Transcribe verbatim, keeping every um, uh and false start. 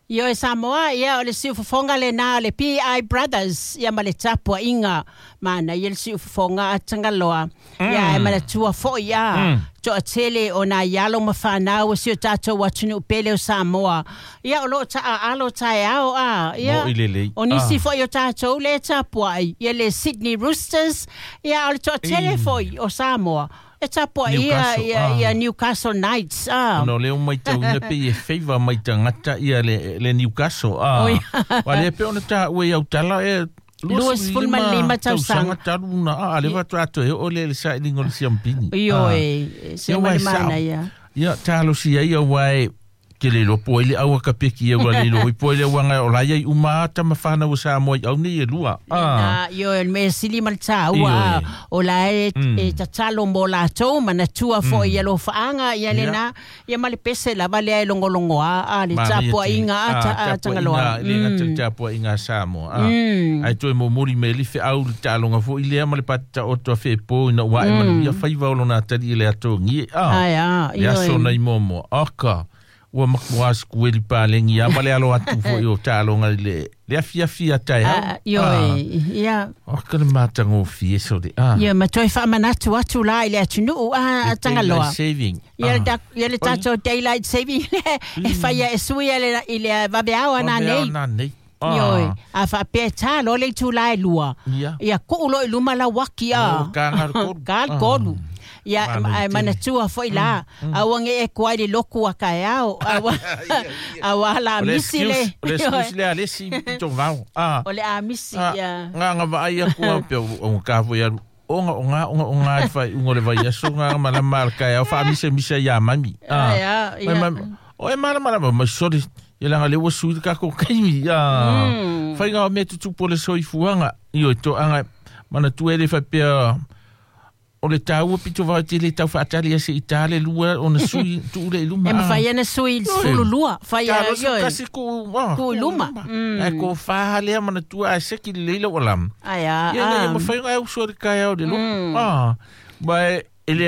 Ioe Samoa, ia o le siufofoga lenā o le P I Brothers, ia ma le tapuaʻiga manaia le siufofoga a Tagaloa. Ia ae manatua foʻi a toʻatele o nā ialo ma fanau o si o tatou atunuu pele o Samoa. Ia o loo taaalo taeao a. Ia Moʻi lelei. o nisi Ah. foʻi o tatou le tapuaʻi ia le Sydney Roosters, ia o le toatele foʻi o Samoa e tapuaʻia Newcastle, ia, ah. ia Newcastle Knights. Ah. Ona o lea ua maitauina pei e favour mai tagata ia le, le Newcastle. Ah. Oi. Ua lea pe ona taua i autala e Lua sefulu ma lima tausaga. tausaga talu na a le faatoa toe oo lea i le sailiga o le siampini. Ioe, se Ia, ma ua le e sao. manaia. Ia talosia ia ua e ke le iloa po ai le au a ka peki ia ua le iloa po ai le auaga o la ia i uma ata ma fanau o Samoa i au nei e lua. Ah. Na, ioe, o le mea sili ma le taua, Ioe. a, o la e, Mm. e tatalo mo latou, manatua foʻi ia lofaaga, ia Ia. lenā, ia ma le pese lava lea e logologoa, a, le Manaia tele. tapuaʻiga a, Ah, ta- a, tapuaiga, Tagaloa. e le gata i le Mm. tapuaiga a Samoa. Ah. Mm. Ae toe momoli mai le feau le taaloga foʻi lea ma le patataoto a feepo ina ua ae manuia faiva o lona atalii i le atogi. Ah. Ai, a, Le aso ioe. nai moamoa. Aka, ua makuā sekueli palegi a ma le alo atu foʻi o taaloga i le le afiafi a taeao. Ah, ioe, ia. Aka le matagofie sole. Ah. Ia ma toe faamanatu atu la i le atunuu a, a Le Tagaloa. daylight saving. Ia le Ah. ta- ia le tatou daylight saving e faia e sui i le- i le vaveao ana Vaveao nei. ana nei. Ah. Ioe, a faapea e tā loa le itulā e lua. Ia. Ia kuu loa i luma lauaki a. Oh, ka ngā le kolu. Ka le kolu. Ia, Manu ae tele. manatua foʻi la. Aua ge e koai le loku a kaeao. Aua aua la O le misi le. excuse, o le excuse le a le isi pito vao. Ah. O le amisi Ah, ia. Ngā ngā vaai aku au pea o ngā foi alu. Onga o ngā onga o ngā i whai ungo le vai aso ngā malama al kai au whaamisemise ia mami. Ah. Ai, a, Mai ia. mami. O e malama lama mai sori. Ia langa le ua sui ka ko kaimi. Ah. Mm. Whai ngā o mea tutupu o le soifuaga. Io e toaga mana tu ele whai pea o le taua pito vao te le tau whaatali ase i tā le lua o na sui tu ule i luma. E mawhai ana sui i Ioe. sefulu lua. Whai a, Talo su ioe. kasi ku, ah, Ku i luma. Mm. Ai ko whaha lea mana tua a seki le leila o lam. Ai a, Ia a. ia mawhai ngā au sori kai au le loku. Mm. Ah. Mai e le